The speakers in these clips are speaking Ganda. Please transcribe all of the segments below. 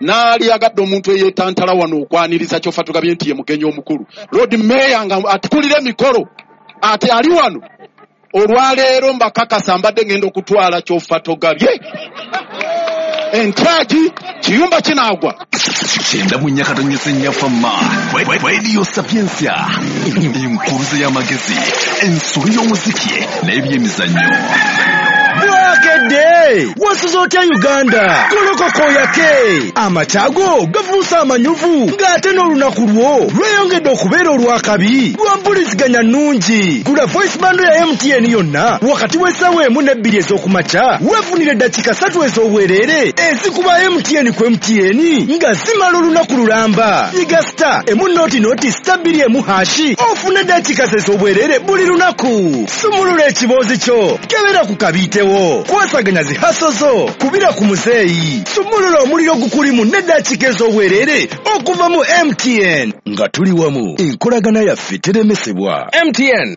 Naali agadde omuntu eyeetantala wano okwaniriza Kyofatogabye nti ye mugenyi omukulu, Lord Mayor nga atukulira emikolo ate ali wano olwaleero. Mbakakasa, mbadde ngenda okutwala Kyofatogabye entyagi kiyumba kinaagwa. 94.4 Fama Radio Sapientia, enkuluze y'amagezi, ensolo y'omuziki n'ebyemizannyo. Bwakedde, wasuze otya Uganda? Golokoka oyake, amakyago gafuuse amanyuvu, ng'ate n'olunaku lwo lweyongedde okubeera olwakabi lwa mpuliziganya nnungi. Gula voice bundle ya MTN yonna wakati w'essaawa 1 ne 2 ez'okumakya, weefunira eddakiika 3 ez'obwereere ezikuba MTN ku MTN nga zimala olunaku lulamba. Yiga *100*2 #, ofune eddakiika ez'obwereere buli lunaku. Sumulula ekiboozi kyo, kebera ku kabiitewo, kwasaganya zi hustle zo, kubira ku muzeeyi, sumulula omuliro gukulimu n'eddakiika ez'obwereere okuva mu MTN. Nga tuli wamu, enkolagana yaffe teremesebwa. MTN.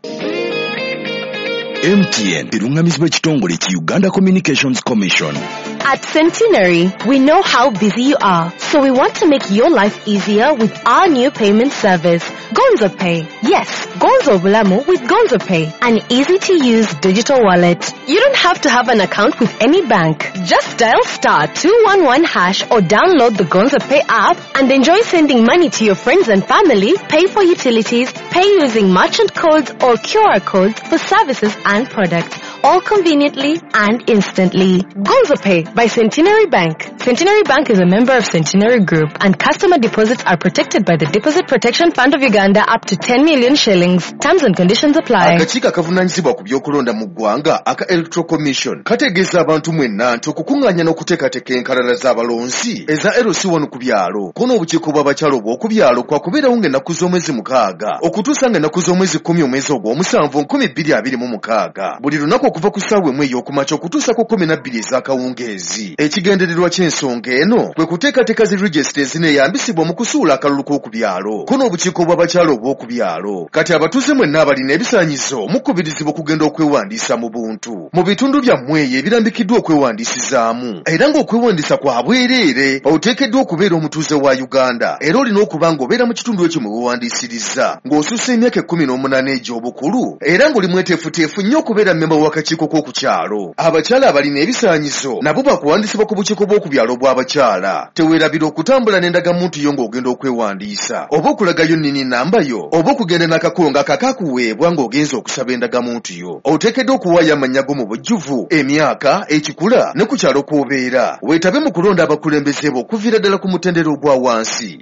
MTN eruŋŋamizibwa ekitongole ki Uganda Communications Commission. At Centenary, we know how busy you are, so we want to make your life easier with our new payment service, Gonzo Pay. Yes, Gonzo Bulamu with Gonzo Pay, an easy-to-use digital wallet. You don't have to have an account with any bank. Just dial *211# or download the Gonzo Pay app and enjoy sending money to your friends and family, pay for utilities, pay using merchant codes or QR codes for services and products, all conveniently and instantly. Gonzo Pay by Centenary Bank. Centenary Bank is a member of Centenary Group, and customer deposits are protected by the Deposit Protection Fund of Uganda up to 10 million shillings. Terms and conditions apply. Akakiiko akavunaanyizibwa ku by'okulonda mu ggwanga aka Electoral Commission kategeeza abantu mwenna nti okukuŋŋaanya n'okuteekateeka enkalala z'abalonzi eza LC1 ku byalo ko n'obukiiko bw'abakyala obw'oku byalo kwakubeerawo ng'ennaku z'omwezi 6 okutuusa ng'ennaku z'omwezi 10 omwezi ogw'omusanvu 2026, buli lunaku okuva ku ssaawa 1 ey'okumakya okutuusa ku 12 ez'akawungeezi. Ekigendererwa ky'ensonga eno kwe kuteekateeka zi regisita ezineeyambisibwa mu kusuula akalulu k'oku byalo ko n'obukiiko bw'abakyala obw'oku byalo. Kati abatuuze mwenna abalina ebisaanyizo mukubirizibwa okugenda okwewandiisa mu buntu mu bitundu byammwe eyo ebirambikiddwa okwewandiisizaamu, era ng'okwewandiisa kwa bwereere. Oteekeddwa okubeera omutuuze wa Uganda, era olina okuba ng'obeera mu kitundu ekyo mwe weewandiisiriza, ng'osussa emyaka 18 egy'obukulu, era ng'oli mweteefuteefu nnyo okubeera mmemba w'akakiiko k'oku kyalo. Abakyala abalina ebisaanyizo nabo bakuwandiisibwa ku bukiiko bw'oku byalo bw'abakyala. Teweerabira okutambula n'endagamuntu yo ng'ogenda okwewandiisa, oba okulagayo NIN number yo, oba okugenda n'akakongo akakakuweebwa ng'ogenza okusaba endagamuntu yo. Oteekeddwa okuwaayo amannya go mu bujjuvu, emyaka, ekikula ne ku kyalo kw'obeera. Weetabe mu kulonda abakulembeze bo okuviira ddala ku mutendera ogwa wansi.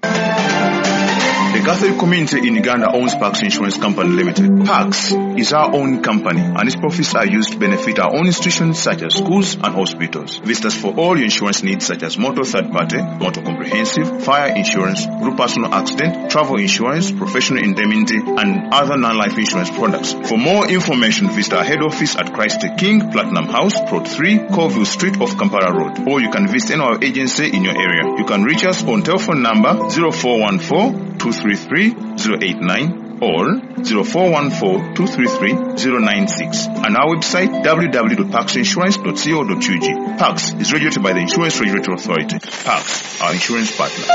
The Catholic community in Uganda owns Pax Insurance Company Limited. Pax is our own company, and its profits are used to benefit our own institutions such as schools and hospitals. Visit us for all your insurance needs such as motor third party, motor comprehensive, fire insurance, group personal accident, travel insurance, professional indemnity, and other non-life insurance products. For more information, visit our head office at Christ the King, Platinum House, Plot 3, Colville Street off Kampala Road. Or you can visit any of our agency in your area. You can reach us on telephone number 0414 233 089 or 0414 233 096 and our website www.paxinsurance.co.ug. Pax is regulated by the Insurance Regulatory Authority. Pax, our insurance partner.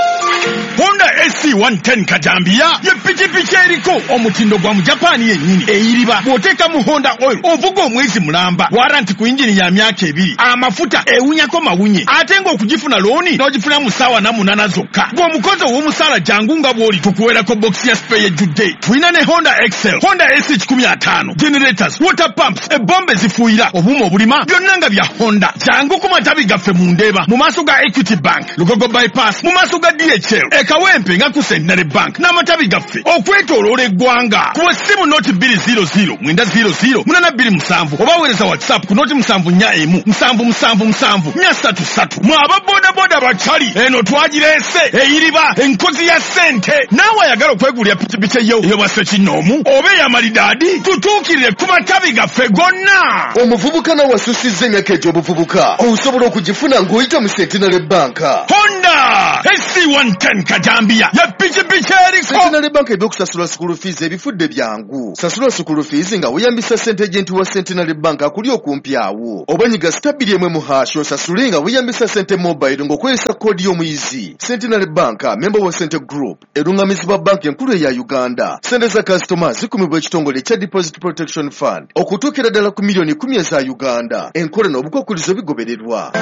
Honda SC 110 Kajambiya ye pikipiki eriko omutindo gwa Mujapani yennyini. Eyiriba bw'oteeka mu Honda oil, ovuga omwezi mulamba, warranty ku yingini ya myaka 2, amafuta ewunyako mawunye, ate ng'okugifuna looni n'ogifuna mu ssaawa 48 zokka. Ng'omukozi ow'omusaala, jangu nga bw'oli, tukuweerako bokisi ya spare ejjudde. Tulina ne Honda Excel, Honda AC 150, generators, water pumps, ebombe ezifuuyira, obuuma obulima, byonna nga bya Honda. Jangu ku matabi gaffe mu Ndeeba mu maaso ga Equity Bank, Lugogo Bypass mu maaso ga DHL, Ekawempe nga ku Centenary Bank, n'amatabi gaffe okwetooloola eggwanga. Kuba essimu 0 200 900 827 oba weereza WhatsApp ku 0 741 777 433. Mwe aba bodaboda bakyali eno twagireese, eyiriba enkozi ya ssente. Naawe ayagala okwegulira pikipiki eyo ey'obwa ssekinnoomu oba ey'amalidaadi, tutuukirire ku matabi gaffe gonna. Omuvubuka nawe asusizza emyaka egy'obuvubuka osobola okugifuna ng'oyita mu Centenary Bank. Honda. Honda AC110 Kajambiya ye pikipiki eriko. Centenary Bank ebyokusasula school fees ebifudde byangu. Sasula school fees nga weeyambisa ssente agent wa Centenary Bank akuli okumpi awo. Oba nyiga *2 1# osasule nga weeyambisa ssente mobile ng'okozesa koodi y'omuyizi. Centenary Bank, member wa Sente Group, erungamizibwa banka enkulu eya Uganda. Ssente za kasitoma zikumibwa ekitongole ekya Deposit Protection Fund okutuukira ddala ku miliyoni 10 eza Uganda. Enkola n'obukwakulizo bigobererwa.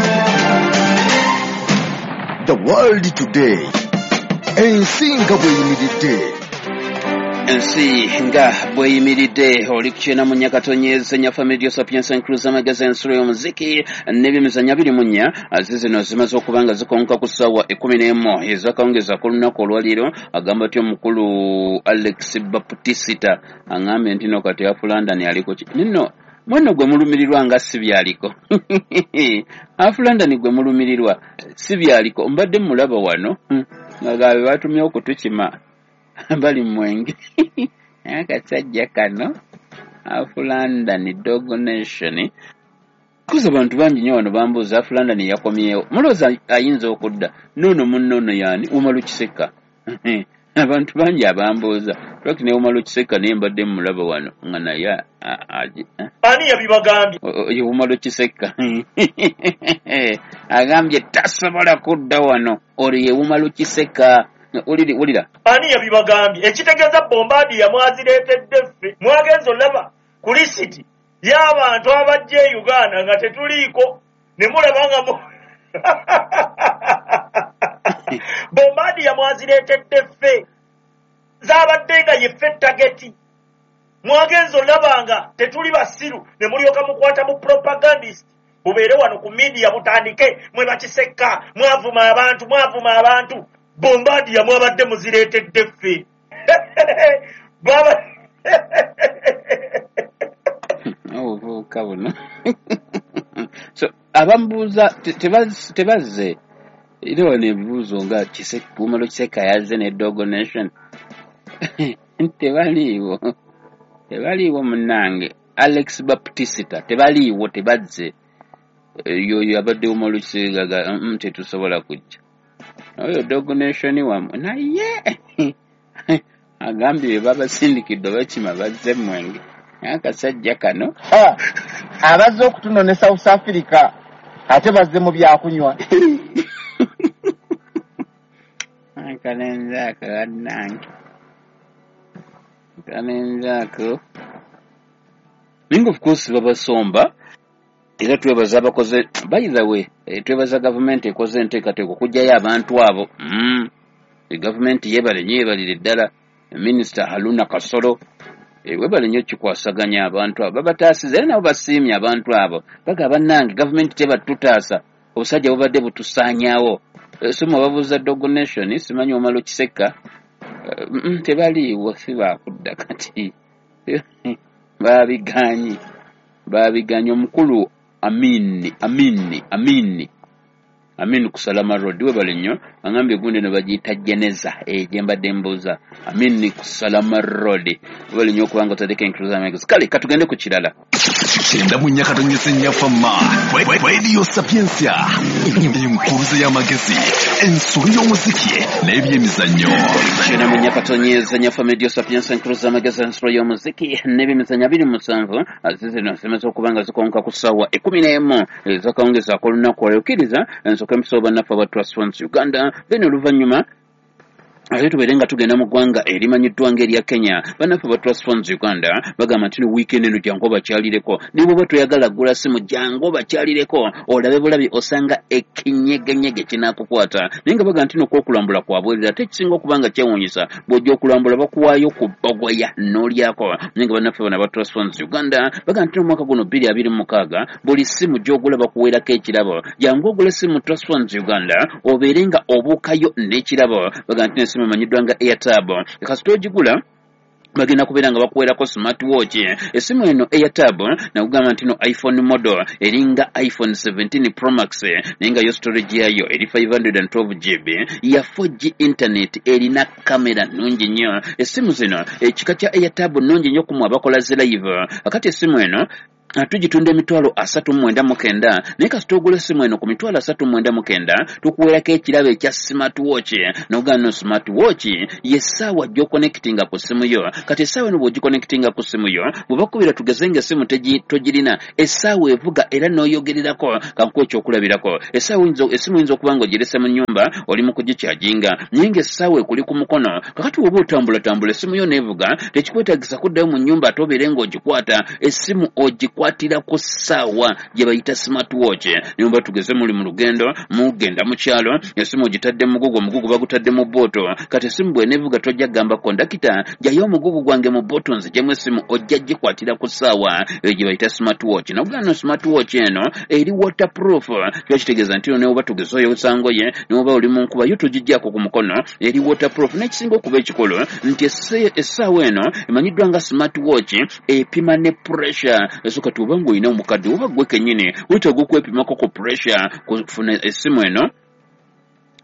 The World Today, ensi nga bw'eyimiridde. Ensi nga bweyimiridde, oli ku 94.4 Radio Sapientia Enkuluze amagezi, ensulo y'omuziki n'ebyemizannyo 24. Zizino zimaze okuba nga zikonka ku ssaawa 11 ezakawungeza ku lunaku olwaleero. Agamba ty omukulu Alex Baptisita aŋambye nti no kati Half London aliko ki nno mwenno gwe mulumirirwa nga si byaliko. Half London gwe mulumirirwa si byaliko. Mbadde mulaba wano nga gabe batumye okutukima bali mwenge, naye akasajja kano Half London Dog Nation kuza abantu bangi nnyo wano bambuuza Half London yakomyewo, mulowooza ayinza okudda noono munnoono yaani Umaru Kiseka. Abantu bangi abambuuza lwaki ne Umaru Kiseka, naye mbadde mulaba wano nga naye Ani yabibagambye? Ye Umaru Kiseka agambye tasobola kudda wano. Olwo ye Umaru Kiseka, wulira. Ani yabibagambye? Ekitegeeza Bombardier mwazireetedde ffe. Mwagenza olaba ku lisiti y'abantu abajja e Uganda nga tetuliiko, ne mulaba nga Bombardier mwazireetedde ffe, zaabadde nga yeffe target. Mwagenza olaba nga tetuli basiru, ne mulyoka mukwata bu propagandist bubeere wano ku media, butandike mwe bakisekka, mwavuma abantu, mwavuma abantu. Bombardier mwabadde muzireetedde ffe. Baba Obuvubuka buno. So abamubuuza tebazze era wano ebibuuzo nga Umaru Kiseka yazze ne Dog Nation, tebaliiwo, tebaliiwo munnange Alex Baptisita, tebaliiwo, tebazze. Yoyo abadde Umaru Kiseka, tetusobola kujja. Oyo Dog Nation wammwe naye agambye be babasindikidde bakima bazze mwenge, naye akasajja kano. Abazze okutunona e South Africa ate bazze mu byakunywa. Akalenzi ako bannange, akalenzi ako, naye nga of course babasomba. Era twebaza abakoze, by the way, twebaza gavumenti ekoze enteekateeka okuggyayo abantu abo. Gavumenti yeebale nnyo, yeebalire ddala. Minisita Haruna Kasolo, webale nnyo kikwasaganya abantu abo, babataasiza era nabo basiimye abantu abo. Bagamba bannange gavumenti tebatutaasa, obusajja bubadde butusaanyaawo. So mwe babuuza Dog Nation, simanyi Omala Okiseka, tebaliiwo, si baakudda kati, babiganyi, babiganyi. Omukulu Amini, Amini, Amini, Amini ku Salama Road, webale nnyo. Angambye gundi eno bagiyita Jeneza, gye mbadde mbuuza. Amini ku Salama Road, webale nnyo okubanga otadeko enkuluza amagezi. Kale katugende ku kirala. 94.4 Fama Radio Sapientia, enkuluze y'amagezi, ensolo y'omuziki n'ebyemizannyo. 94.4 Fama Radio Sapientia, enkuluza amagezi, ensolo y'omuziki n'ebyemizannyo 27. Zizino zimaze okuba nga zikonka ku ssaawa 11 ezakawungezi ak'olunaku olwokiriza. Ensooka empiso bannaffe aba Trust Funds Uganda, then oluvannyuma ate tubeere nga tugenda mu ggwanga erimanyiddwa ng'erya Kenya. Bannaffe ba Trust Funds Uganda bagamba nti no weekend eno jangu obakyalireko, ne bw'oba toyagala gula simu, jangu obakyalireko olabe bulabi, osanga ekinyegenyege kinaakukwata. Naye nga bagamba nti nokwokulambula kwabwerera, ate ekisinga okuba nga kyewuunyisa, bw'ojja okulambula bakuwaayo ku bbogoya n'olyako. Naye nga bannaffe bano aba Trust Funds Uganda bagamba nti omwaka guno 2026 buli simu gy'ogula bakuweerako ekirabo. Jangu ogula simu Trust Funds Uganda obeere nga obuukayo n'ekirabo. Bagamba nti n'essimu emanyiddwa nga Airtab, kasita ogigula bagenda kubeera nga bakuweerako smart watch. Essimu eno Airtab nakugamba nti no iPhone model eringa iPhone 17 Pro Max, naye nga yo storage yayo eri 512 GB, ya 4G internet, erina kamera nnungi nnyo. Essimu zino ekika kya Airtab nnungi nnyo kumwe abakola zi live. Akati essimu eno Tugitunda 399,000, naye kasita ogula essimu eno ku 39,000 tukuweerako ekirabo ekya smartwatch. Nogamba no smartwatch y'essaawa gy'oconnectinga ku ssimu yo. Kati essaawa eno bw'ogiconnectinga ku ssimu yo, bwe bakubira tugeze ng'essimu togirina, essaawa evuga era n'oyogererako. Kankuwa ekyokulabirako, essimu oyinza okuba ng'ogirese mu nnyumba oli mu kugikyajinga, naye ng'essaawa ekuli ku mukono. Kakati bw'oba otambulatambula essimu yo n'evuga, tekikwetaagisa kuddayo mu nnyumba ate obeere ng'ogikwata. Essimu ogikwatira ku ssaawa gye bayita smartwatch. Naye oba tugeze muli mu lugendo, mugenda mu kyalo, essimu ogitadde mu mugugu, omugugu bagutadde mu booto. Kati essimu bw'eneevuga tojja kugamba kondakita jjayo omugugu gwange mu booto nzigyemu essimu, ojja gikwatira ku ssaawa eyo gye bayita smartwatch. Nagamba no smartwatch eno eri waterproof, kiba kitegeeza nti ne oba tugeze oyoza ngoye, ne oba oli mu nkuba yo togiggyako ku mukono, eri waterproof. N'ekisinga okuba ekikulu nti essaawa eno emanyiddwa nga smartwatch epima ne pressure. So kati oba ng'olina omukadde oba ggwe kennyini weetaaga okwepimako ku pressure, kufuna essimu eno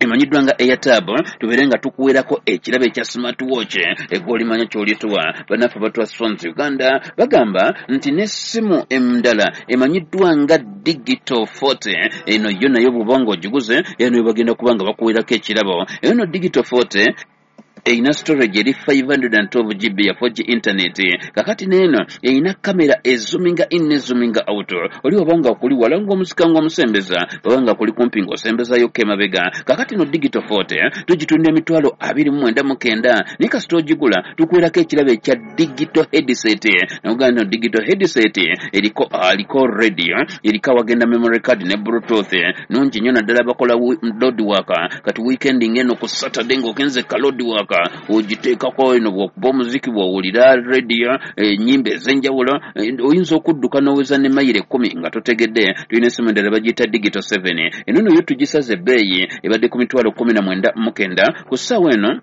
emanyiddwa nga Airtab, tubeere nga tukuweerako ekirabo ekya smartwatch egw'olimanya ky'olituwa. Bannaffe ba Trust Phones Uganda bagamba nti n'essimu endala emanyiddwa nga Digital 40 eno yo nayo bw'oba ng'ogiguze eno bagenda kuba nga bakuweerako ekirabo. Eno Digital 40 erina storage eri 512 GB ya 4G internet. Kakati n'eno erina kamera ezoominga in ne zoominga out. Oli oba nga kuli wala ng'omusika ng'omusembeza, oba nga kuli kumpi ng'osembezayokko emabega. Kakati no Digital 40 tugitunda 29,900, naye kasita ogigula tukuweerako ekirabo ekya digital headset. Nagamba no digital headset eriko aliko radio, eriko awagenda memory card ne bluetooth. Nungi nnyo naddala bakola load work. Kati weekend ng'eno ku Saturday ng'ogenze ka load work ogiteekako eno, bw'okuba omuziki, bw'owulira radio ennyimba ez'enjawulo, oyinza okudduka n'oweza ne mayiro 10 nga totegedde. Tulina essimu endala bagiyita Digital 7, eno no yo tugisaze ebbeeyi, ebadde ku 19,900, ku ssaawa eno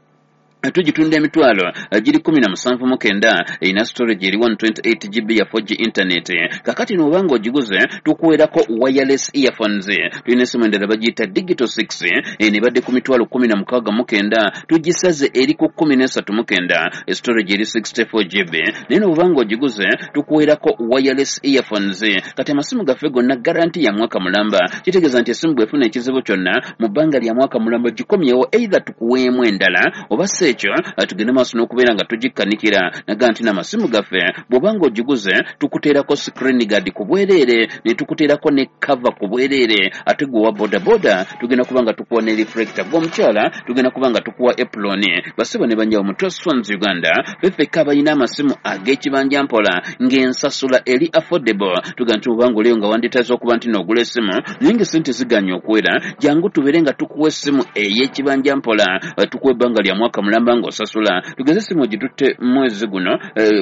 tugitunda 17,900. Erina storage eri 128 GB ya 4G internet. Kakati n'oba ogiguze tukuweerako wireless earphones. Tulina essimu endala bagiyita Digital 6, eno ebadde ku 16,900, tugisaze eri ku 13,900, storage eri 64 GB. Naye n'oba ng'ogiguze tukuweerako wireless earphones. Kati amasimu gaffe gonna garanti ya mwaka mulamba, kitegeeza nti essimu bw'efuna ekizibu kyonna mu bbanga lya mwaka mulamba gikomyewo, either tukuweemu endala oba si ekyo tugende maaso n'okubeera nga tugikkanikira. Naga nti n'amasimu gaffe bw'oba ng'ogiguze tukuteerako screen guard ku bwereere, ne tukuteerako ne cover ku bwereere. Ate gwe owa bodaboda tugenda kuba nga tukuwa ne reflector, gwe omukyala tugenda kuba nga tukuwa apron. Basebo ne bannyabo mu Trust Phones Uganda ffe abalina amasimu ag'ekibanja mpola ng'ensasula eri affordable. Tugamba nti oba ng'oliyo nga wanditaze okuba nti n'ogula essimu naye ng'essente ziganye okuwera, jangu tubeere nga tukuwa essimu ey'ekibanja mpola, tukuwa ebbanga lya mwaka mulamba ng'osasula. Tugeze essimu ogitutte mwezi guno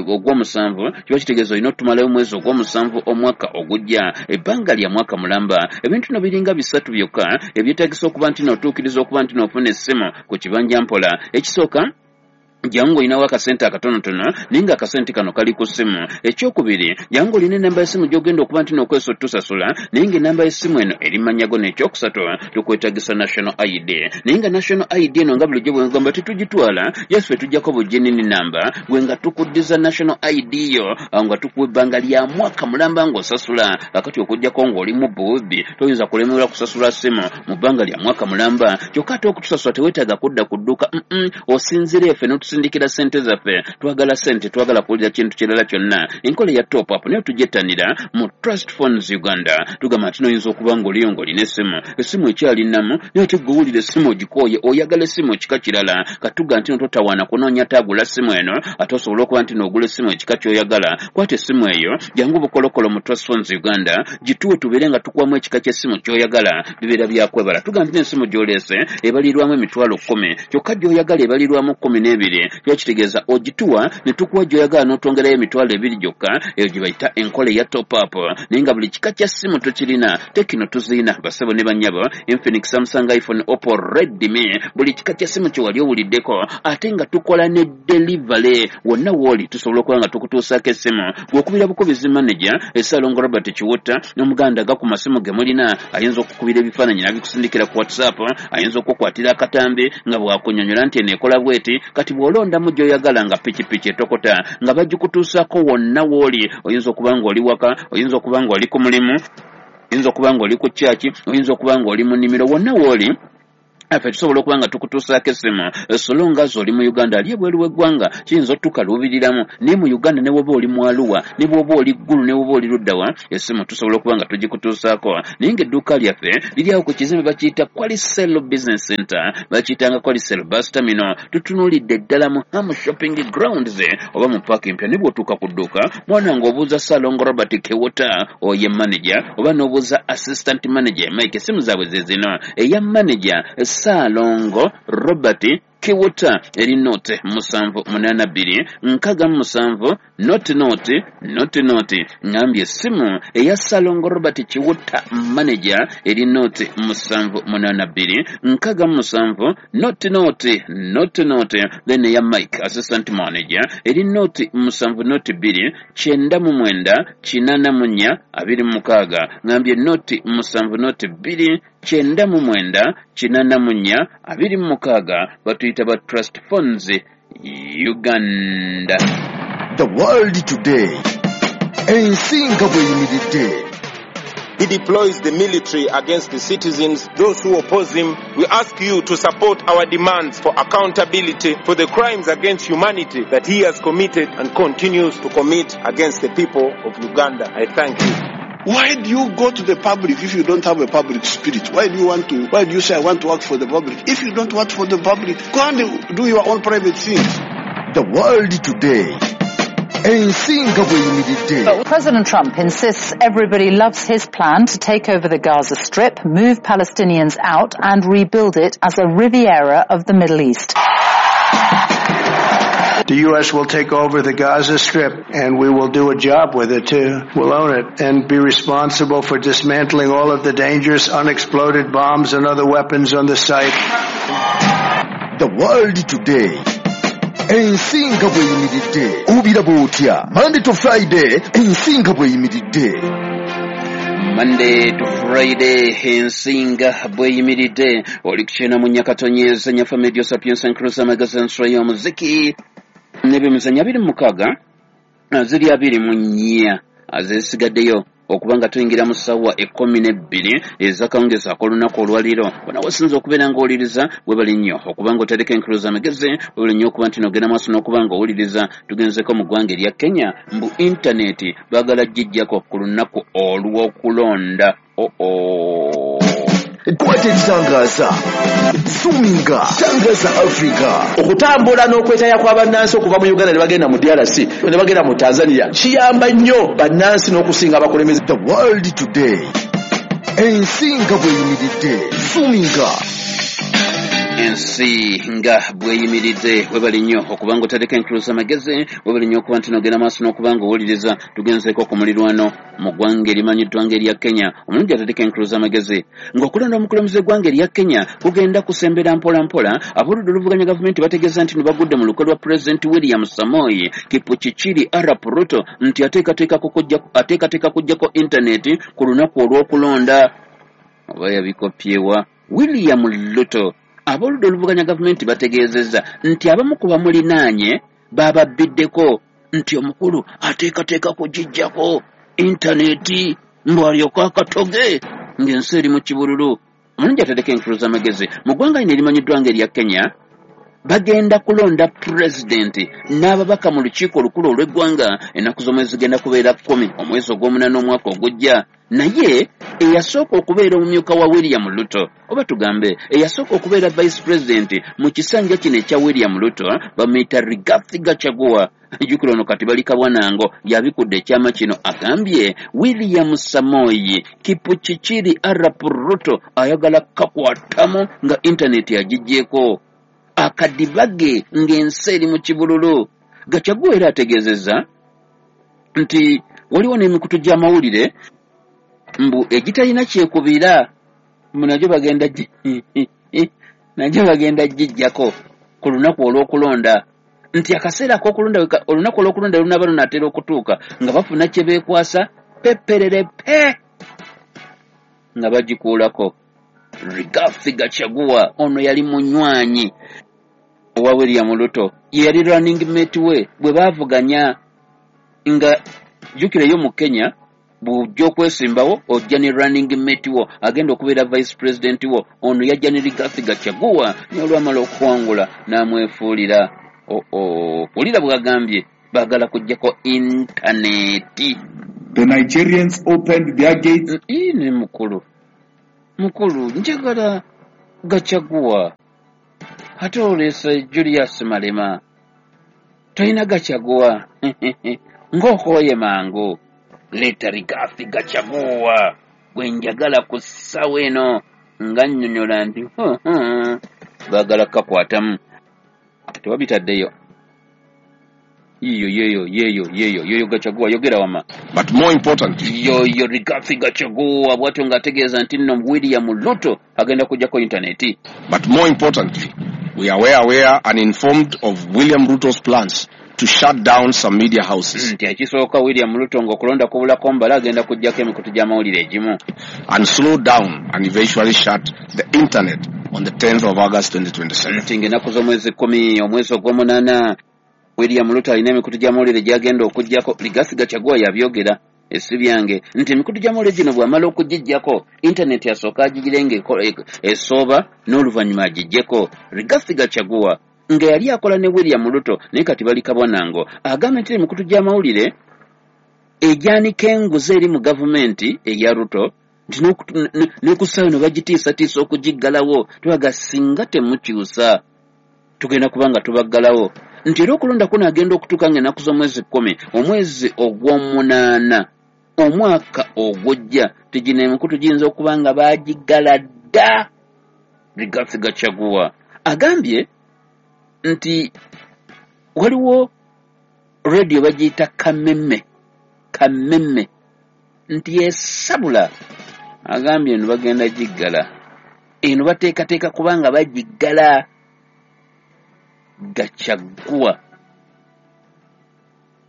ogw'omusanvu, kiba kitegeeza olina otumalayo mwezi ogw'omusanvu omwaka ogujja, ebbanga lya mwaka mulamba. Ebintu no biringa bisatu byokka ebyetaagisa okuba nti n'otuukiriza okuba nti n'ofuna essimu ku kibanja mpola. Ekisooka, jangu olinawo akasente akatonotono naye nga akasente kano kali ku ssimu. Ekyokubiri, jangu olina enamba y'essimu gy'ogenda okuba nti n'okozesa otusasula naye ng'enamba y'essimu eno eri manyago. N'ekyokusatu, tukwetaagisa national ID, naye nga national ID eno nga bulijjo bwe ngamba tetugitwala, yaffe tujjako buginini namba gwe nga tukuddiza national ID yo, awo nga tukuwa ebbanga lya mwaka mulamba ng'osasula. Kakati okuggyako ng'oli mu buwubbi toyinza kulemererwa kusasula ssimu mu bbanga lya mwaka mulamba. Kyokka ate okutusasula teweetaaga kudda ku dduuka, osinziira effe n'otusindikira ssente zaffe. Twagala ssente, twagala kuwulira kintu kirala kyonna. Enkola ya top up nayo tugyettanira mu Trust Phones Uganda. Tugamba nti noyinza okuba ng'oliyo ng'olina essimu, essimu ekyali nnamu, naye ate gwe owulira essimu ogikooye, oyagala essimu ekika kirala. Katuga nti no totawaana kunoonya taagula ssimu eno, ate osobola okuba nti n'ogula essimu ekika ky'oyagala. Kwata essimu eyo, jangu bukolokolo mu Trust Phones Uganda, gituwe tubeere nga tukuwamu ekika ky'essimu ky'oyagala. Bibeera byakwebala. Tugamba nti n'essimu gy'oleese ebalirwamu 10,000, kyokka gy'oyagala ebalirwamu 12,000. Kiba kitegeeza ogituwa ne tukuwa gy'oyagala n'otwongerayo 20,000 gyokka. Eyo gye bayita enkola eya top up. Naye nga buli kika kya ssimu tukirina, Tecno tuzirina, basebo ne bannyabo, Infinix, Samsung, iPhone, Oppo, Redmi, buli kika kya ssimu kye wali owuliddeko. Ate nga tukola ne delivery wonna w'oli, tusobola okuba nga tukutuusaako essimu. Bw'okubira bukubizi manager Essalongo Robert Kiwutta n'omuganda aga ku masimu ge mulina, ayinza okukubira ebifaananyi n'abikusindikira ku WhatsApp, ayinza okukwatira akatambi nga bw'akunnyonnyola nti eno ekola bw'eti. Kati bw'oba Ng'olondamu gy'oyagala nga pikipiki etokota nga bagikutuusaako wonna w'oli. Oyinza okuba ng'oli waka, oyinza okuba ng'oli ku mulimu, oyinza okuba ng'oli ku kyaki, oyinza okuba ng'oli mu nnimiro, wonna w'oli ffe tusobola okuba nga tukutuusaako essimu solonga zo oli mu Uganda. Ali ebweru w'eggwanga kiyinza otukaluubiriramu, naye mu Uganda ne bw'oba oli mu Arua, ne bw'oba oli Ggulu, ne bw'oba oli luddawa, essimu tusobola okuba nga tugikutuusaako. Naye ng'edduuka lyaffe liri awo ku kizimbe bakiyita Qualicel Business Center, bakiyitanga Qualicel Bus Terminal. Tutunuulidde ddala mu Ham Shopping Grounds oba mu paaka empya. Ne bw'otuuka ku dduuka mwana ng'obuuza Ssalongo Robert Kewota, oye manager, oba n'obuuza assistant manager Mike. Essimu zaabwe ze zino: eya manager Saalongo Robert Kiwuta eri 0 782 67 00 00. Ngambye essimu eya Saalongo Robert Kiwuta manager eri 0 782 67 00 00. Then eya Mike assistant manager eri 0 7 02 99 84 26. Ngambye 0 7 02 99 84 26. Batuyita ba Trust Phones Uganda. The World Today, ensi nga bw'eyimiridde. He deploys the military against the citizens, those who oppose him. We ask you to support our demands for accountability for the crimes against humanity that he has committed and continues to commit against the people of Uganda. I thank you. Why do you go to the public if you don't have a public spirit? Why do you want to, why do you say I want to work for the public? If you don't work for the public, go and do your own private things. The World Today, ensi nga bw'eyimiridde. President Trump insists everybody loves his plan to take over the Gaza Strip, move Palestinians out and rebuild it as a Riviera of the Middle East. The U.S. will take over the Gaza Strip and we will do a job with it too. We'll own it and be responsible for dismantling all of the dangerous unexploded bombs and other weapons on the site. The World Today, ensi nga bw'eyimiridde. Obiraba otya? Monday to Friday, ensi nga bw'eyimiridde. Monday to Friday, ensi nga bweyimiridde. Oli ku 94.4 FM, Radio Sapientia, Enkuluza Magazine, nsula y'omuziki n'ebyemizannyo. 26 ziri 24 zesigaddeyo okuba nga tuyingira mu ssaawa 12 ez'akawungeezi ak'olunaku olwaleero. Wona wasinza okubeera ng'owuliriza, webali nnyo okuba nga otereka enkuluza amagezi, webali nnyo okuba nti nogenda maaso n'okuba ng'owuliriza. Tugenzeko mu ggwanga erya Kenya, mbu intaneti baagala gijjako ku lunaku olw'okulonda. Oo, kwata ekitangaaza, zuminga tangaza Africa. Okutambula n'okwetaya kwa bannansi okuva mu Uganda ne bagenda mu DRC ne bagenda mu Tanzania kiyamba nnyo bannansi n'okusinga abakulembeze. The World Today, ensi nga bw'eyimiridde, zuminga. Ensi nga bweyimiridde. Webali nnyo okuba nga otereka enkuluza amagezi, webali nnyo okuba nti nogenda maaso n'okuba nga owuliriza. Tugenzeeko ku mulirwano mu ggwanga erimanyiddwa nga erya Kenya. Omulungi atereka enkuluza amagezi, ng'okulonda omukulembeze w'eggwanga erya Kenya kugenda kusembera mpola mpola, ab'oludda oluvuganya gavumenti bategeeza nti bagudde mu lukwe lwa Pulezidenti William Samoei Kipchirchir arap Ruto nti ateekateeka kuggyako intaneti ku lunaku olw'okulonda. Oba yabikopyewa William Ruto? Ab'oludda oluvuganya gavumenti bategeezezza nti abamu ku bamulinaanye bababbiddeko nti omukulu ateekateeka kugiggyako intaneti mbu alyoke akatoge ng'ensi eri mu kibululu. Omulungi atereka enkulu z'amagezi, mu ggwanga lino erimanyiddwa nga erya Kenya bagenda kulonda pulezidenti n'ababaka mu lukiiko olukulu olw'eggwanga. Ennaku z'omwezi zigenda kubeera 10 omwezi ogw'omunaana omwaka ogujja. Naye eyasooka okubeera omumyuka wa William Ruto, oba tugambe eyasooka okubeera vice president mu kisanja kino ekya William Ruto, bamuyita Rigathi Gachagua. Jjukira ono kati bali kabwanango yabikudde ekyama kino. Agambye William Samoei Kipchirchir arap Ruto ayagala kakwatamu nga intaneti agiggyeko akadibage ng'ensi eri mu kibululu. Gachagua era ategeezezza nti waliwo n'emikutu gy'amawulire mbu egitalina kyekubira, mbu nagyo bagenda gijjako ku lunaku olw'okulonda, nti akaseera ak'okulonda olunaku olw'okulonda lunaaba lunaatera okutuuka nga bafuna kye beekwasa peperere pe nga bagikuulako. Rigathi Gachagua ono yali munywanyi Owa William Ruto ye yali running mate we bwe baavuganya. Nga jjukireyo mu Kenya bw'ojja okwesimbawo ojja ne running mate wo agenda okubeera vice president wo. Ono yajja ne Rigathi Gachagua, naye olwamala okuwangula n'amwefuulira. Oo, wulira bw'agambye baagala kuggyako intaneti. The Nigerians opened their gates. Ne mukulu, mukulu, njagala Gachagua, ate oleese Julius Malema. Tolina Gachagua ng'okooye mangu. Leeta Rigathi Gachagua gwe njagala ku ssaawa eno. Nga nnyonnyola nti baagala kukakwatamu, tewabitaddeyo. Yiyo yeyo yeyo yeyo yoyo Gachagua, yogera wama. But more importantly, yoyo Rigathi Gachagua bw'atyo ng'ategeeza nti nno William Ruto agenda kuggyako intaneti. But more importantly, we are well aware and informed of William Ruto's plans to shut down some media houses. Nti ekisooka William Ruto ng'okulonda kubulako mbala agenda kuggyako emikutu gy'amawulire egimu and slow down and eventually shut the internet on the 10th of August 2027. Nti ng'ennaku z'omwezi 10 omwezi ogw'omunaana William Ruto alina emikutu gy'amawulire gy'agenda okuggyako. Rigathi Gachagua yabyogera esi byange nti emikutu gy'amawulire gino bw'amala okugiggyako intaneti asooka agigire ng'esooba n'oluvannyuma agiggyeko. Rigathi Gachagua nga yali akola ne William Ruto naye kati bali kabwanango, agambye nti emikutu gy'amawulire egyanika enguzi eri mu gavumenti eya Ruto nti n'okusaayo no bagitiisatiisa okugiggalawo, tubaga singa temukyusa tugenda kuba nga tubaggalawo. Nti era okulonda kuno agenda okutuuka ng'ennaku z'omwezi 10 omwezi ogw'omunaana omwaka ogujja tigino emikutu giyinza okuba nga baagiggala dda. Rigathi Gachagua agambye nti waliwo radio bagiyita Kameme, Kameme nti yesabula, agambye eno bagenda giggala, eno bateekateeka kubanga bagiggala. Gachagua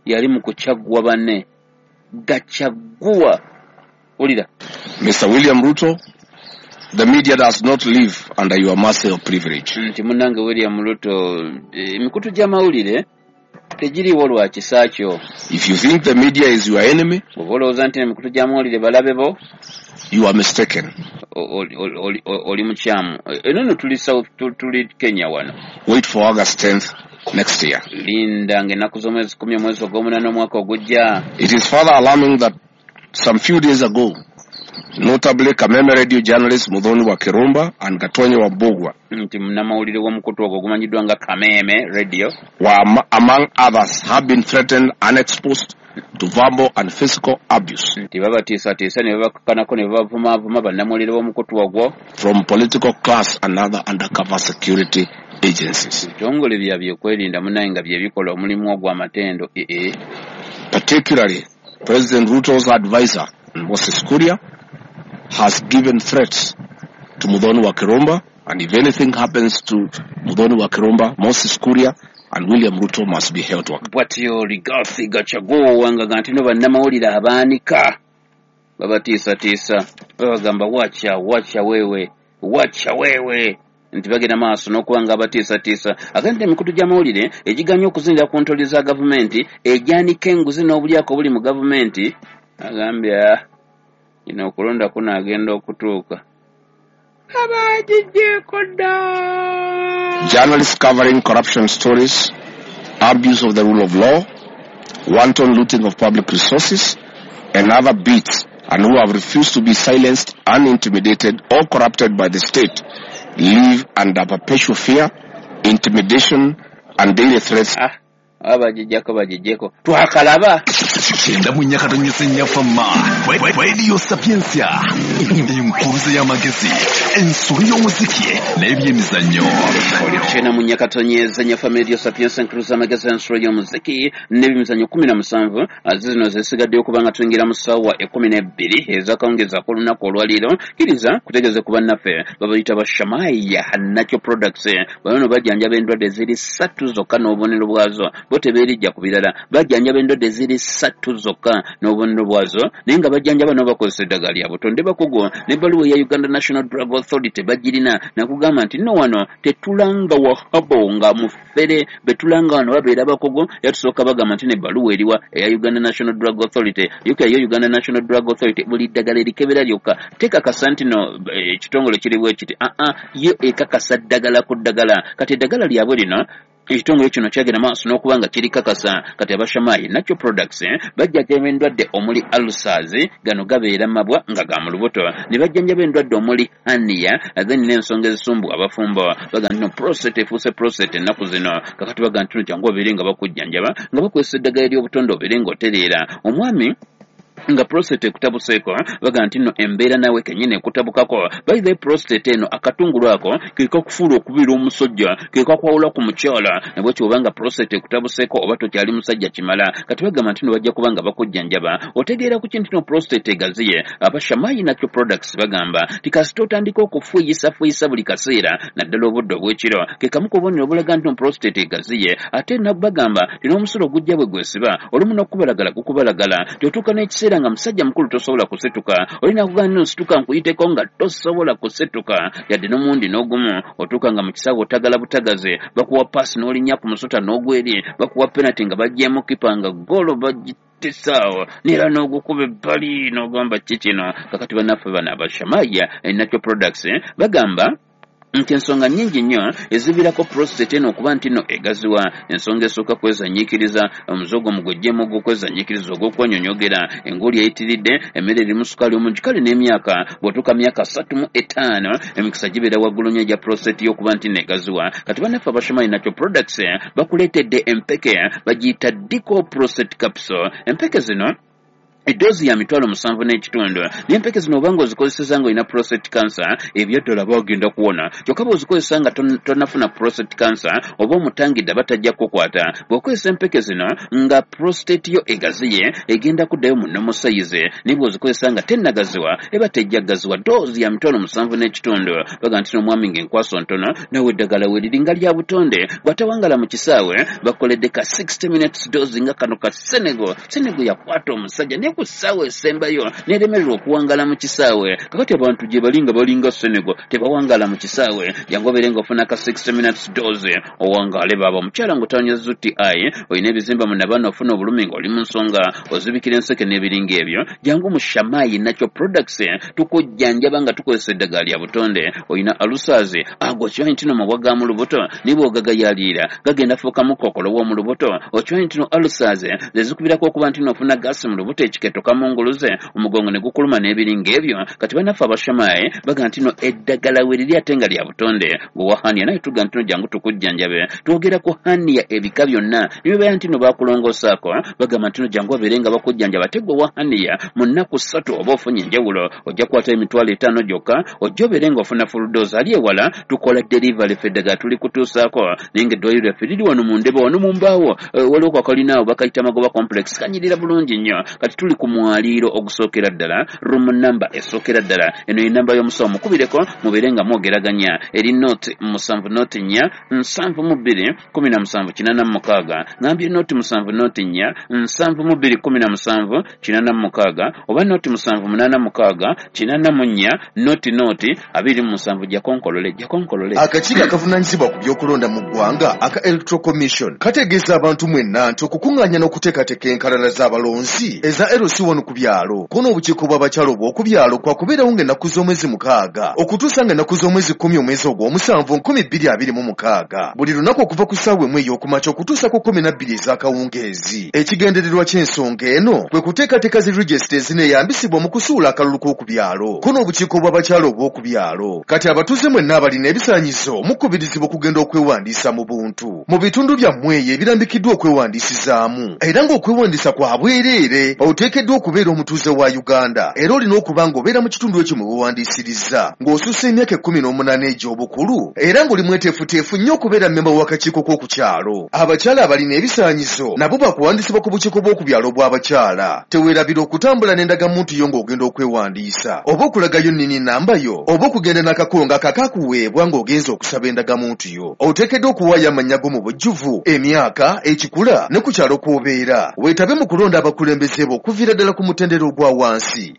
yali mu kukyagwa banne. Gachagua wulira. Mr. William Ruto, the media does not live under your mercy or privilege. Nti munnange William Ruto, emikutu gy'amawulire tegiriiwo lwa kisa kyo. If you think the media is your enemy, bw'oba olowooza nti emikutu gy'amawulire balabe bo, you are mistaken. Oli mukyamu. Eno nno tuli South, tuli Kenya wano. Wait for August 10th next year. Linda ng'ennaku z'omwezi 10 omwezi ogw'omunaana omwaka ogujja. It is further alarming that some few days ago, notably Kameme radio journalist Muthoni wa Kirumba and Gatonye wa Mbugua, nti munnamawulire w'omukutu ogwo ogumanyiddwa nga Kameme radio, were among others have been threatened and exposed to verbal and physical abuse. Nti babatiisatiisa ne babakakkanako ne babavumaavuma bannamawulire b'omukutu ogwo from political class and other undercover security agencies. Ebitongole bya byokwerinda munnaye nga bye bikola omulimu ogw'amatendo. Particularly President Ruto's advisor Moses Kuria has given threats to Muthoni wa Kirumba, and if anything happens to Muthoni wa Kirumba, Moses Kuria and William Ruto must be held to account. Bwatyo Rigathi Gachagua nga nti no bannamawulire abaanika babatiisatiisa babagamba wacha wacha wewe wacha wewe, nti bagenda maaso n'okuba nga abatiisatiisa. Agamba emikutu gy'amawulire egiganya okuzinira ku ntoli za gavumenti egyanika enguzi n'obulyako obuli mu gavumenti, agambye ino okulonda kuno agenda okutuuka abagiggyeko dda. Journalists covering corruption stories, abuse of the rule of law, wanton looting of public resources, and other beats, and who have refused to be silenced and intimidated or corrupted by the state, live under perpetual fear, intimidation, and daily threats. Abagiggyako bagiggyeko twakalaba. 94.4 Fama Radio Sapientia, enkuruze y'amagezi, ensolo y'omuziki n'ebyemizannyo. 94.4 Fama Radio Sapientia, enkuruze y'amagezi, ensolo y'omuziki n'ebyemizannyo 17 zino zisigaddeyo kubanga tuyingira mu ssaawa 12 ez'akawungeezi ak'olunaku olwaleero. Kkiriza kutegeeze ku bannaffe babayita ba Shamaya Natural Products. Bano bajjanjaba endwadde ziri 3 zokka n'obubonero bwazo, bo tebeerijja ku birala. Bajjanjaba endwadde ziri 3 2 zokka n'obubonero bwazo, naye nga bajjanjaba n'obakozesa eddagala lya butonde bakugu n'ebbaluwa eya Uganda National Drug Authority bagirina, nakugamba nti nno wano tetulanga wahabo nga mufere, betulanga wano babeera bakugu. Era tusooka bagamba nti n'ebbaluwa eriwa eya Uganda National Drug Authority. Yo Uganda National Drug Authority buli ddagala erikebera lyokka tekakasa nti no ekitongole kiri bwe kiti, yo ekakasa ddagala ku ddagala. Kati eddagala lyabwe lino ekitongole kino kyagenda maaso n'okuba nga kirikakasa. Kati abashamayi Natural Products bajjanjaba endwadde omuli ulcers, gano gabeera mabwa nga ga mu lubuto, ne bajjanjaba endwadde omuli hernia, then n'ensonga ezisumbuwa abafumbo. Bagamba nti no prostate efuuse prostate ennaku zino. Kakati bagamba nti no jangu obeere nga bakujjanjaba nga bakozesa eddagala ery'obutonde obeere ng'otereera. Omwami nga prostate ekutabuseeko, bagamba nti nno embeera naawe kennyini ekutabukako. By the prostate eno akatungulu ako ke kakufuula okubeera omusajja, ke kakwawula ku mukyala, nabwekyo oba nga prostate ekutabuseeko oba tokyali musajja kimala. Kati bagamba nti nno bajja kuba nga bakujjanjaba. Otegeera ku kintu no prostate egaziye. Abashamayi Natural Products bagamba nti kasita otandika okufuuyisafuuyisa buli kaseera naddala obudde obw'ekiro, ke kamu ku bubonero obulaga nti no prostate egaziye. Ate bagamba nti n'omusulo ogujja bwe gwesiba olumu n'okubalagala gukubalagala, nti otuuka n'ekiseera nga musajja mukulu tosobola kusituka, olina kugamba nno nsituka nkuyiteko nga tosobola kusituka yadde n'omundi n'ogumu. Otuuka nga mu kisaawe otagala butagaze, bakuwa paasi n'olinnya ku musota n'ogweri, bakuwa penalty nga baggyemu kipa nga ggoolo bagitesaawo neera n'ogukuba ebbali n'ogamba ki kino. Kakati bannaffe bano abashamaya Natural Products bagamba nti ensonga nnyingi nnyo eziviirako prostate eno okuba nti nno egaziwa. Ensonga esooka kwezanyiikiriza, omuze ogwo mugwejjemu ogw'okwezanyiikiriza ogw'okwenyonyogera, enguuli eyitiridde, emmere erimu sukaali omungi, kale n'emyaka. Bw'otuuka myaka 35 emikisa gibeera waggulu nnyo egya prostate y'okuba nti nno egaziwa. Kati bannaffe abashomayi Natural Products bakuleetedde empeke bagiyita Dico Prostate Capsule. Empeke zino eddoozi ya 75,000, naye empeke zino obanga ozikozeseza ng'olina prostate cancer ebyaddala bagenda kuwona. Kyokka bw'ozikozesa nga tonnafuna prostate cancer oba omutangidde aba tajja kukukwata. Bw'okozesa empeke zino nga prostate yo egaziye egenda kuddayo mu normal size, naye bw'ozikozesa nga tennagaziwa eba tejja kugaziwa. Ddoozi ya 75,000. Bagamba nti n'omwami ng'enkwaso ntono nawe eddagala we liri nga lya butonde, bw'atawangala mu kisaawe bakoledde ka 60 minutes dose nga kano ka Senegal. Senegal yakwata omusajja naye ku ssaawa esembayo n'eremererwa okuwangala mu kisaawe. Kakati abantu gye bali nga balinga Senegal tebawangala mu kisaawe. Jangu obeere ng'ofuna ka 60 minutes dose owangaale baaba. Omukyala ng'otawanya UTI, olina ebizimba mu nabaana, ofuna obulumi ng'oli mu nsonga, ozibikira enseke n'ebiringa ebyo, jangu mu Shamayi Natural Products tukujjanjaba nga tukozesa eddagala lya butonde. Olina ulcers, ago okimanyi nti no mabwa ga mu lubuto naye bw'ogagayaliira gagenda fuukamu kookolo w'omu lubuto. Okimanyi nti no ulcers ze zikubirako okuba nti no ofuna gaasi mu lubuto, ekiketo kamunguluze, omugongo ne gukuluma n'ebiringa ebyo. Kati bannaffe abashamaye bagamba nti no eddagala we liri ate nga lya butonde. Gwe hernia naye tugamba nti no jangu tukujjanjabe. Twogera ku hernia ebika byonna nibibeera nti no bakulongoosaako, bagamba nti no jangu babeere nga bakujjanjaba. Ate gwe hernia mu nnaku 3 oba ofunye enjawulo, ojja kukwata 50,000 gyokka ojja obeere ng'ofuna full dose. Ali ewala tukola delivery, ffe eddagala tuli kutuusaako, naye ng'eddwaliro lyaffe liri wano mu Ndebe wano mu mbaawo, waliwo kakalina awo bakayita Magoba Complex, kanyirira bulungi nnyo. Kati tuli ku mwaliiro ogusookera ddala, room number esookera ddala. Eno ye namba y'omusawo, mukubireko mubeere nga mwogeraganya. Eri 0 7 0 4 72 17 86. Ngambye 0 7 0 4 72 17 86 oba 0 7 8 6 84 0 0 27. Jakonkolole, jakonkolole. Akakiiko akavunaanyizibwa ku by'okulonda mu ggwanga aka Electoral Commission kategeeza abantu mwenna nti okukuŋŋaanya n'okuteekateeka enkalala z'abalonzi eza LC1 ku byalo ko n'obukiiko bw'abakyala obw'oku byalo kwakubeerawo ng'ennaku z'omwezi 6 okutuusa ng'ennaku z'omwezi 10 omwezi ogw'omusanvu 2026, buli lunaku okuva ku ssaawa 1 ey'okumakya okutuusa ku 12 ez'akawungeezi. Ekigendererwa ky'ensonga eno kwe kuteekateeka zi regisita ezineeyambisibwa mu kusuula akalulu k'oku byalo ko n'obukiiko bw'abakyala obw'oku byalo. Kati abatuuze mwenna abalina ebisaanyizo mukubirizibwa okugenda okwewandiisa mu buntu mu bitundu byammwe eyo ebirambikiddwa okwewandiisizaamu, era ng'okwewandiisa kwa bwereere. Oteekeddwa Oteekeddwa okubeera omutuuze wa Uganda era olina okuba ng'obeera mu kitundu ekyo mwe weewandiisirizza, ng'osussa emyaka 18 egy'obukulu era ng'oli mweteefuteefu nnyo okubeera mmemba w'akakiiko k'oku kyalo. Abakyala abalina ebisaanyizo nabo baakuwandiisibwa ku bukiiko bw'oku byalo obw'abakyala. Teweerabira okutambula n'endagamuntu yo ng'ogenda okwewandiisa oba okulagayo nnini nnamba yo oba okugenda n'akakongo ako akaakuweebwa ng'ogenze okusaba endagamuntu yo. Oteekeddwa okuwaayo amannya go mu bujjuvu, emyaka, ekikula ne ku kyalo kw'obeera. Weetabe mu kulonda abakulembeze bo okuviira ddala ku mutendera ogwa wansi.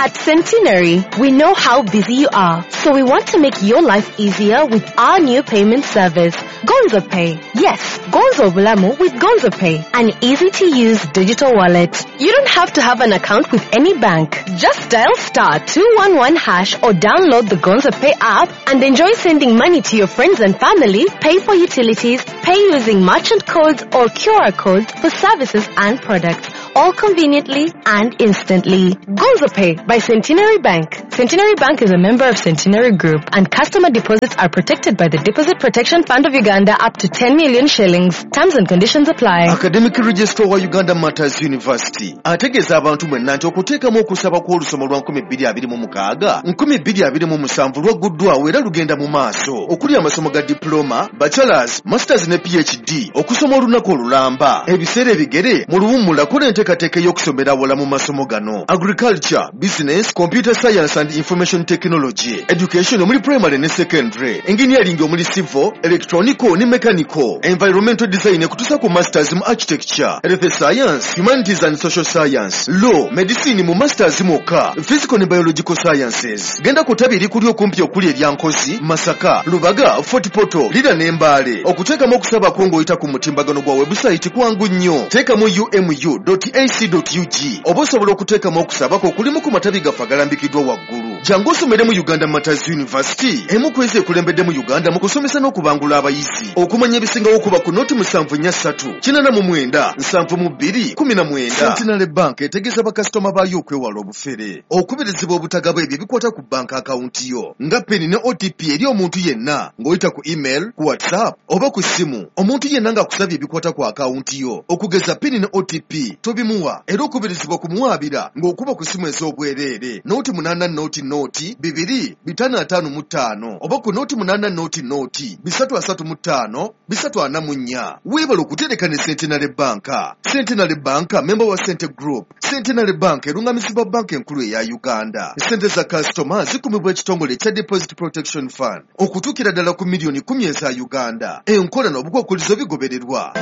At Centenary, we know how busy you are, so we want to make your life easier with our new payment service, Gonzo Pay. Yes, Gonzo Bulamu with Gonzo Pay, an easy-to-use digital wallet. You don't have to have an account with any bank. Just dial star 211 hash or download the Gonzo Pay app and enjoy sending money to your friends and family, pay for utilities, pay using merchant codes or QR codes for services and products, all conveniently and instantly. Gonzo Pay by Centenary Bank. Centenary Bank is a member of Centenary Group and customer deposits are protected by the Deposit Protection Fund of Uganda up to 10 million shillings. Terms and conditions apply. Academic Registrar wa Uganda Martyrs University ategeeza abantu mwenna nti okuteekamu okusaba kw'olusoma lwa 2026 2027 lwagguddwawo era lugenda mu maaso okuli amasomo ga diploma, bachelors, masters ne PhD okusoma olunaku olulamba ebiseera ebigere mu luwummula kola enteekateeka ey'okusomera awala mu masomo gano: agriculture, business, computer science and information technology, education omuli primary ne secondary, engineering omuli civil, electronical ne mechanical, environmental design ekutuusa ku masters mu architecture, health science, humanities and social science, law, medicine mu masters mwokka, physical ne biological sciences. Genda ku ttabi erikuli okumpi okuli erya Nkozi, Masaka, Lubaga, Fort Portal, Lira ne Mbale. Okuteekamu okusabako ng'oyita ku mutimbagano gwa website kwangu nnyo. Teekamu umu.ac.ug oba osobola okuteekamu okusabako okulimu ku matabi gaffe agalambikiddwa waggulu. Jangu osomere mu Uganda Martyrs University, emu ku ezo ekulembedde mu Uganda mu kusomesa n'okubangula abayizi. Okumanya ebisingawo kuba ku noti 743 89 72 19. Centenary Bank etegeeza bakasitoma baayo okwewala obufere, okubirizibwa obutagaba ebyo ebikwata ku banka akawunti yo nga PIN ne OTP eri omuntu yenna ng'oyita ku email, ku WhatsApp oba ku ssimu. Omuntu yenna ng'akusabye ebikwata ku akawunti yo okugeza PIN ne OTP tobimuwa, era okubirizibwa kumuwaabira ng'okuba ku ssimu ez'obwereere noti 8 0 0 2 5 5 5 oba ku noti 8 0 0 3 35 344. Weebale okutereka ne Centenary Bank. Centenary Bank memba wa Sente Group. Centenary Bank erungamizibwa banka enkulu eya Uganda. Sente za kasitoma zikumibwa ekitongole ekya Deposit Protection Fund okutuukira ddala ku miliyoni 10 eza Uganda. Enkola n'obukwakulizo bigobererwa.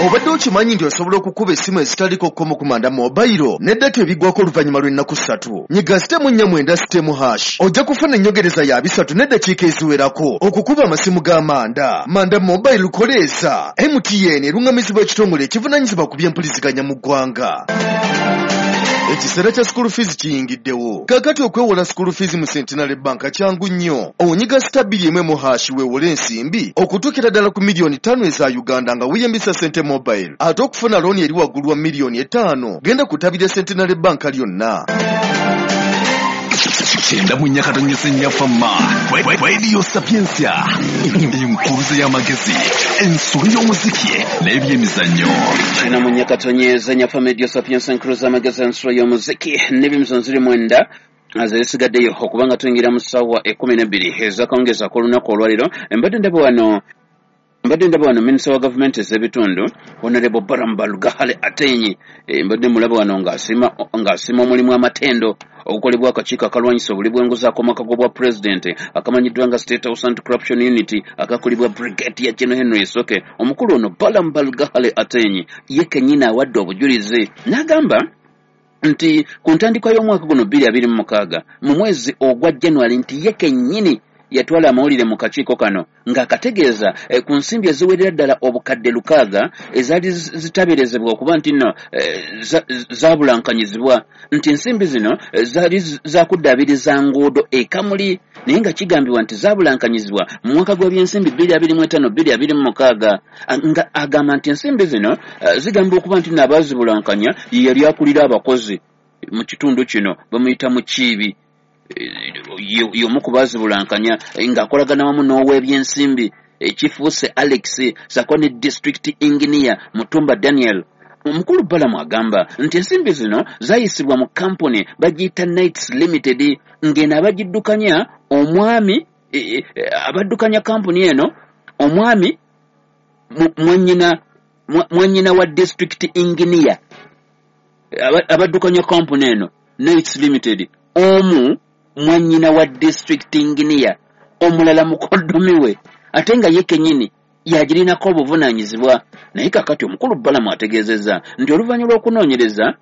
Obadde okimanyi nti osobola okukuba essimu ezitaliko kkomo ku Manda Mobile ne data ebiggwako oluvannyuma lw'ennaku 3? Nyiga sitemu 4 9 sitemu hash ojja kufuna ennyongereza ya 3 n'eddakiika eziwerako okukuba amasimu ga Manda. Manda Mobile koleeza. MTN erungamizibwa ekitongole ekivunaanyizibwa ku by'empuliziganya mu ggwanga. Ekiseera kya school fees kiyingiddewo. Kaakati okwewola school fees mu Centenary Bank kyangu nnyo. Onyiga star 2 mu hash weewole ensimbi okutuukira ddala ku miliyoni 5 eza Uganda nga weeyambisa Sente Mobile. Ate okufuna looni eri waggulu wa miliyoni 5 genda ku ttabi lya Centenary Bank lyonna. 94.4 Fama Radio Sapientia, enkuluze y'amagezi, ensolo y'omuziki n'ebyemizannyo. 94.4 Fama Radio Sapientia, enkuluze y'amagezi, ensolo y'omuziki n'ebyemizannyo ziri 9 azisigaddeyo okubanga tuyingira mu ssaawa 12 ez'akawungeezi ak'olunaku olwaleero. Mbadde ndaba wano minisita wa gavumenti ez'ebitundu Honorable Balaam Barugahara Ateenyi, mbadde mulaba wano ng'asiima omulimu amatendo ogukolebwa akakiiko akalwanyisa obuli bw'enguzi ak'omwaka gw'obwa pulezidenti akamanyiddwa nga State House Anti-Corruption Unit akakulibwa Brigadier General Henry Isoke. Omukulu ono Balaam Barugahara Ateenyi ye kennyini awadde obujulizi n'agamba nti ku ntandikwa y'omwaka guno 2026 mu mwezi ogwa January nti ye kennyini yatwala amawulire mu kakiiko kano ng'akategeeza ku nsimbi eziwerera ddala obukadde 6 ezaali zitaberezebwa okuba nti nno zaabulankanyizibwa, nti ensimbi zino zaali zakuddaabiriza nguudo e Kamuli, naye nga kigambibwa nti zaabulankanyizibwa mu mwaka gw'ebyensimbi 2025 2026, nga agamba nti ensimbi zino zigambibwa okuba nti nno abaazibulankanya ye yali akulira abakozi mu kitundu kino bamuyita Mukiibi, y'omu ku baazibulankanya ng'akolagana wamu n'ow'ebyensimbi ekifuuse Alex sako ne district engineer Mutumba Daniel. Omukulu Balamu agamba nti ensimbi zino zayisibwa mu kampuni bagiyita Knights Limited, ng'eno abagiddukanya omwami abaddukanya kampuni eno omwami mwannyina wa district engineer. Abaddukanya kampuni eno Knights Limited, omu mwannyina wa district engineer, omulala mukoddomi we, ate nga ye kennyini yagirinako obuvunaanyizibwa. Naye kakati omukulu Balamu ategeezezza nti oluvannyuma lw'okunoonyereza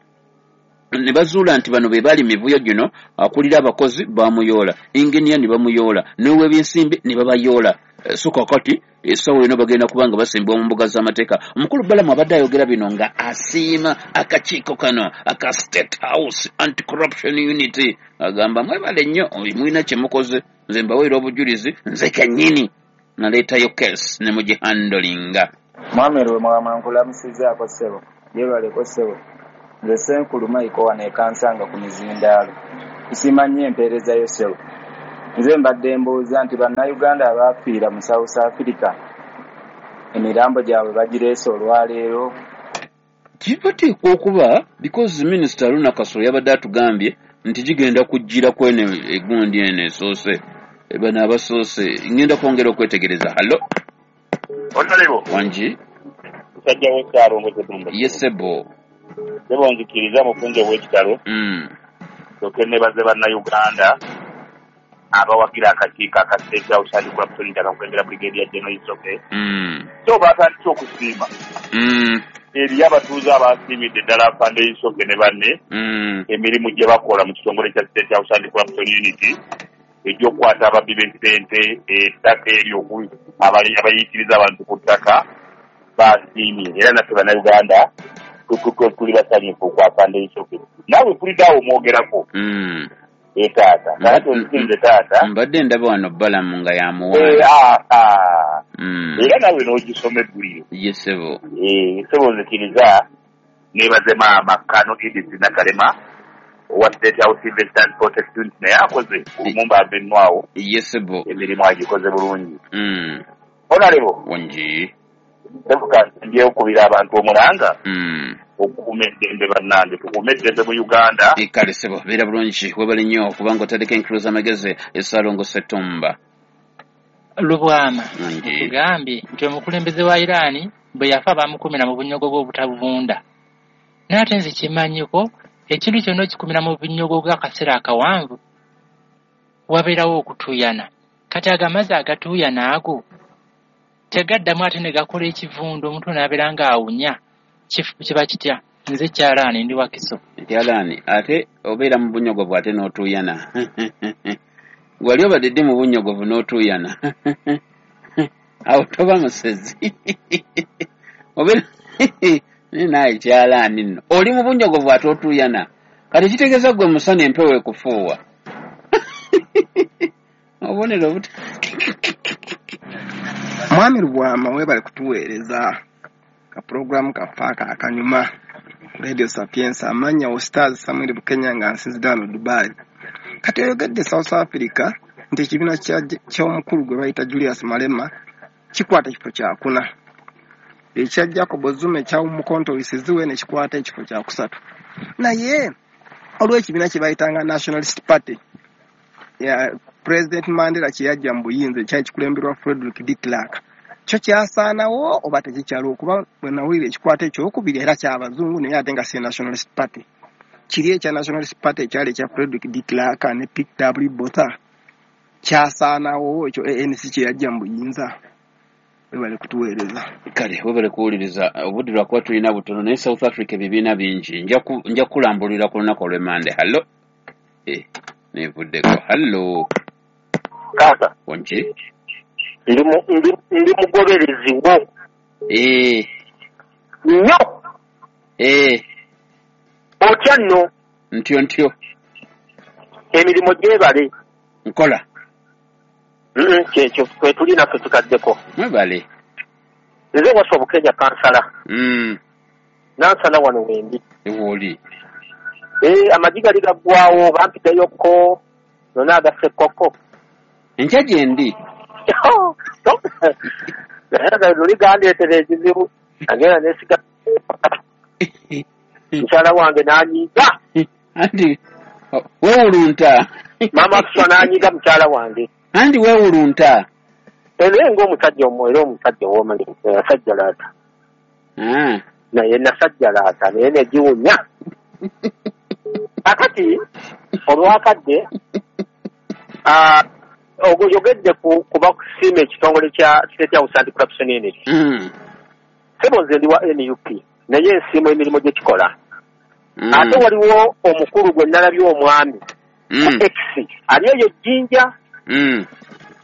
ne bazuula nti bano be bali mivuyo gino, akulira abakozi bamuyoola, inginiya ne bamuyoola, n'ow'ebyensimbi ne babayoola. So kakati essaawa eno bagenda kuba nga basimbibwa mu mbuga z'amateeka. Omukulu Balamu abadde ayogera bino nga asiima akakiiko kano aka State House Anti-Corruption Unit, agamba mwebale nnyo, mulina kye mukoze, nze mbaweera obujulizi, nze kennyini naleetayo case ne mugihandolinga. Mwami Lwemwama nkulamusizaako ssebo, yeebaleko ssebo. Nze Ssenkulu Michael wano e Kansanga ku mizindaalo. Nsiima nnyo empeereza yo ssebo. Nze mbadde mbuuza nti bannayuganda abaafiira mu South Africa emirambo gyabwe bagireese olwaleero? Kibateekwa okuba because Minisita Haruna Kasolo yabadde atugambye nti gigenda kujjira kweno egundi eno esoose, bano abasoose. Ngenda kwongera okwetegereza. Hallo. Honorable. Wangi. Musajja w'ekyalo Ngozedumba. Yes ssebo. Ssebo nzikiriza mufunze ow'ekitalo. Nsooke neebaze bannayuganda abawagira akakiiko aka State House Anti-Corruption Unit akakulembera Brigadier General Isoke. So batandise okusiima. Eriyo abatuuze abasiimidde ddala Afande Isoke ne banne emirimu gye bakola mu kitongole kya State House Anti-Corruption Unit egy'okukwata ababbi b'essente, ettaka eryo abayiikiriza abantu ku ttaka basiimye. Era naffe bannayuganda tuli basanyufu ku Afande Isoke. Naawe mpulidde awo omwogerako. Taata kakati onzikirize taata, mbadde ndaba wano Balamu nga yamuwaana. Era naawe n'ogisoma eggulire. Ye ssebo. Ssebo nzikiriza neebaze maama Kano Edith Nakalema owa State House Investment Protect Unit, naye akoze Lumumba Avenue awo. Ye ssebo. Emirimu agikoze bulungi. Honorable. Wangi. Ssebo kansimbyeyo okukubira abantu omulanga okukuuma eddembe bannange, tukuume eddembe mu Uganda. Kale ssebo, beera bulungi, webale nnyo okubanga otandika enkulu z'amagezi. Essaalongo Ssettumba. Lubwama otugambye nti omukulembeze wa Iran bwe yafa baamukumira mu bunyogogo obutabuvunda. Naye ate nze kimanyiko ekintu kyonna okikumira mu bunyogogo akaseera akawanvu wabeerawo okutuuyana. Kati ago amazzi agatuuyana ago tegaddamu ate ne gakola ekivundu, omuntu n'abeera ng'awunya. Kiba kitya? Nze Kyalaani ndi Wakiso. Kyalaani ate obeera mu bunyogovu ate n'otuuyana. Wali obadde ddi mu bunyogovu n'otuuyana? Awo toba musezi. Obeera naye Kyalaani nno oli mu bunyogovu ate otuuyana. Kati kitegeeza ggwe musana empewo ekufuuwa. Obubonero obuta. Mwami Lubwama weebale kutuweereza ka pulogulaamu kaffe ako akanyuma ku Radio Sapienza. Amannya wo Stars Samuel Bukenya nga nsinzidde wano Dubai. Kati oyogedde South Africa nti ekibiina ky'omukulu gwe bayita Julius Malema kikwata ekifo kyakuna, ekya Jacob Zuma ekya Umkhonto we Sizwe ne kikwata ekifo kyakusatu. Naye olw'ekibiina kye bayitanga Nationalist Party ya President Mandela kye yajja mu buyinza ekyali kikulemberwa Frederick de Klerk, kyo kyasaanawo oba tekikyaliwo? Kuba bwe nawulira ekikwata ekyokubiri era ky'abazungu, naye ate nga si Nationalist Party. Kiri ekya Nationalist Party ekyali ekya Frederick de Klerk ne P.W. Botha kyasaanawo ekyo ANC kye yajja mu buyinza? Webale kutuweereza. Kale webale kuwuliriza. Obudde lwakuba tulina butono, naye South Africa ebibiina bingi. Nja kulambulira ku lunaku olw'Emmande. Hallo. Nevuddeko. Hallo. Taata. Wangi. Ndi mugoberezi wo. Nnyo. Otya nno? Ntyo ntyo. Emirimu gyebale. Nkola. Kyekyo kwe tuli naffe tukaddeko. Mwebale. Nze Waswa Bukenya kansala. Nansana wano wendi. Ewooli. Amagi gali gaggwawo bampitayokko nona agasekkokko. Enkya gyendi. Naye luli gandeetera ekizibu agenda nesiga. Mukyala wange n'anyiiga. Anti weewulunta. Maama Kuswa n'anyiiga mukyala wange. Anti weewulunta. Era ng'omusajja era omusajja w'omanyi yasajjalaata. Naye nasajjalaata naye negiwunya. Kakati olwakadde oyogedde kuba kusiima ekitongole kya State House Anti-Corruption Unit. Sebo nze ndi wa NUP naye nsiima emirimu gye kikola. Ate waliwo omukulu gwe nalabye omwami ku X ali eyo Jjinja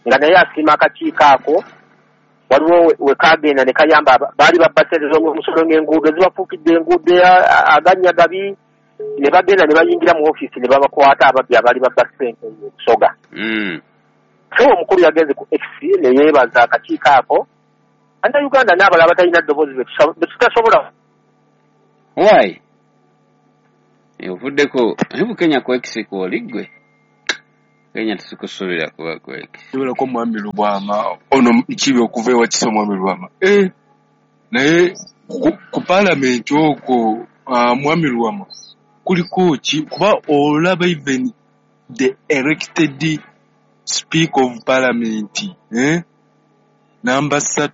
nga naye asiima akakiiko ako. Waliwo we kagenda ne kayamba baali babba ssente z'omusolo ng'enguudo zibafuukidde enguudo agannya gabi, ne bagenda ne bayingira mu ofiisi ne babakwata ababbi abaali babba ssente Busoga. So omukulu yagenze ku X ne yeebaza akakiiko ako. Bannayuganda n'abalala abatalina ddoboozi betutasobola. Why? Ovuddeko naye Bukenya ku X kwoli ggwe. Kenya tusikusuubira kuba ku X. Kibeerako Mwami Lubwama ono kibi okuva ewa Kisa Mwami Lubwama. Naye ku paalamenti okwo Mwami Lubwama kuliko ki kuba olaba even the elected speaker of parliament number 3